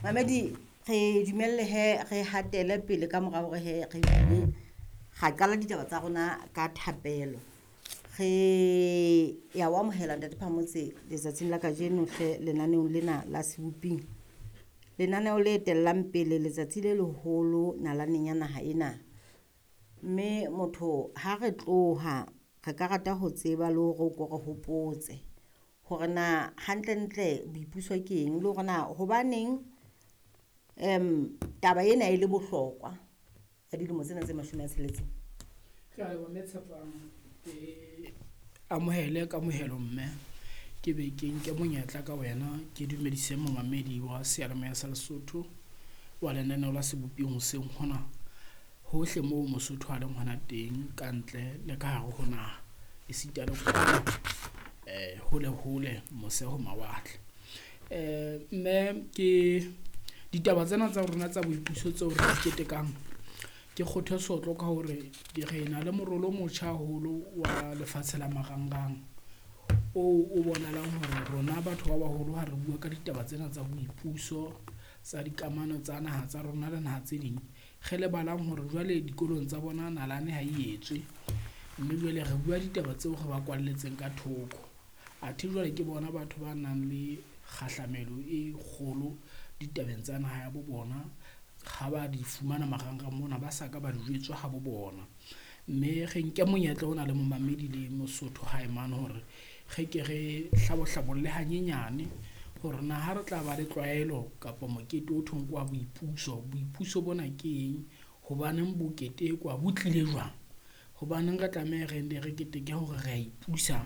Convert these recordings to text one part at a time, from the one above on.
Mamedi, re dumelle he re hatele pele ka mora hore he re bile ra qala ditaba tsa rona ka thapelo. Re ya o amohela Ntate Phamotse letsatsing la kajeno hle lenaneong lena la Seboping. Lenaneo le etellang pele letsatsi le leholo nalaneng ya naha ena. Mme motho ha re tloha re ka rata ho tseba le hore o ko re hopotse hore na hantlentle boipuso ke eng, le hore na hobaneng taba ena e le bohlokwa ya dilemo tsena tse 60. Ke a leboha mme Tshepang ke amohele kamohelo mme ke be ke nke monyetla ka wena ke dumedise momamedi wa seyalemoya sa Lesotho wa lenaneo la seboping hoseng hona hohle moo Mosotho a leng hona teng kantle le ka hare ho naha esita le kwana hole hole mose ho mawatle. Mme ke ditaba tsena tsa rona tsa boipuso tseo re di ketekang ke kgothe sotlo ka hore re na le morolo o motjha haholo wa lefatshe la marangrang oo o bonahalang hore rona batho ba baholo ha re bua ka ditaba tsena tsa boipuso tsa dikamano tsa naha tsa rona le naha tse ding. Re lebalang hore jwale dikolong tsa bona nalane ha e etswe, mme jwale re bua ditaba tseo re ba kwalletseng ka thoko. Athe jwale ke bona batho ba nang le kgahlamelo e kgolo ditabeng tsa naha ya bo bona. Ha ba di fumana marangrang mona, ba sa ka ba di jwetswa ha bo bona, mme re nke monyetla ona le momamedi le Mosotho hae mane hore re ke re hlabo hlabolle hanyenyane hore na ha re tla ba le tlwaelo kapa mokete ho thweng ke wa boipuso. Boipuso bona ke eng, hobaneng bo ketekwa, bo tlile jwang. Hobaneng re tlameha re nne re keteke hore re a ipusa.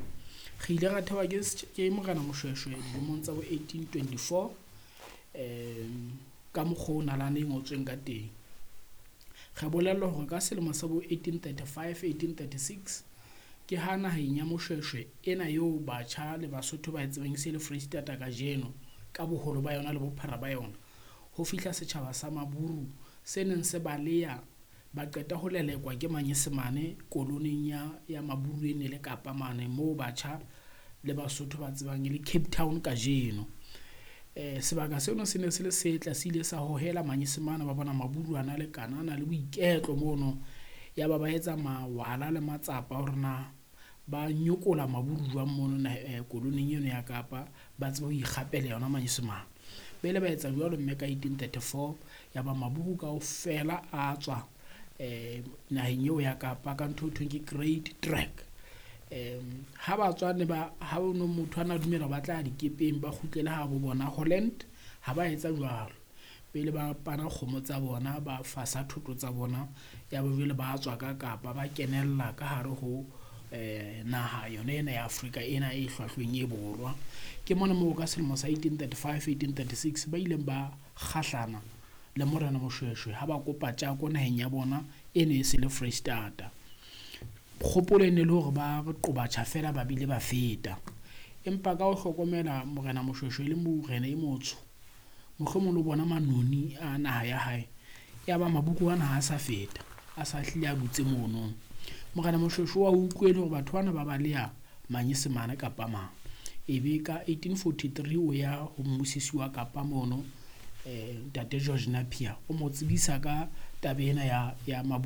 Re ile ra thewa ke Morena Moshweshwe dilemong tsa bo 1824 ka mokgo nalane e ngotsweng ka teng. Re bolellwa hore ka selemo sa bo 1835, 1836 ke ha naheng ya Moshweshwe ena eo batjha le Basotho ba e tsebang e se le Foreisetata kajeno ka boholo ba yona le bophara ba yona. Ho fihla setjhaba sa Maburu se neng se baleya ba qeta ho lelekwa ke Manyesemane koloneng ya Maburu e ne le Kapa mane moo batjha le Basotho ba tsebang e le Cape Town kajeno. Sebaka seno se ne se le setle se ile sa hohela Manyesemane ba bona Maburu a na le kanana le boiketlo mono. Ya ba ba etsa mawala le matsapa a hore na ba nyokola Maburu jwang mono koloning eno ya Kapa, ba tsebe ho ikgapela yona Manyesemane. Ba ile ba etsa jwalo mme ka 1834 ya ba Maburu kaofela a tswa naheng eo ya Kapa ka ntho eo thweng ke Great Trek. Ha ba tswa ne ba ha ono motho ana dumela ba tla dikepeng ba kgutlele ha bo bona Holland ha ba etsa jwalo. Pele ba pana kgomo tsa bona, ba fasa thoto tsa bona ya ba jwale ba tswa ka Kapa ba kenella ka hare ho naha yona ena ya Afrika ena e hlwahlweng e borwa. Ke mona moo ka selemo sa 1835, 1836 ba ileng ba kgahlana le Morena Moshweshwe ha ba kopa tjako naheng ya bona e ne e se le Foreisetata. Kgopolo e ne le hore ba re qoba tjha feela ba bile ba feta. Empa ka ho hlokomela Morena Moshweshwe e le morena e motsho, mohlomong le bona manoni a naha ya hae, ya ba maburu ana ha sa feta, a sa hlile a dutse mono. Morena Moshweshwe wa utlwele hore batho bana ba baleha Manyesemane kapa mang, ebe ka 1843 o ya ho mmusisi wa Kapa mono ntate George Napier o mo tsebisa ka taba ena ya Maburu.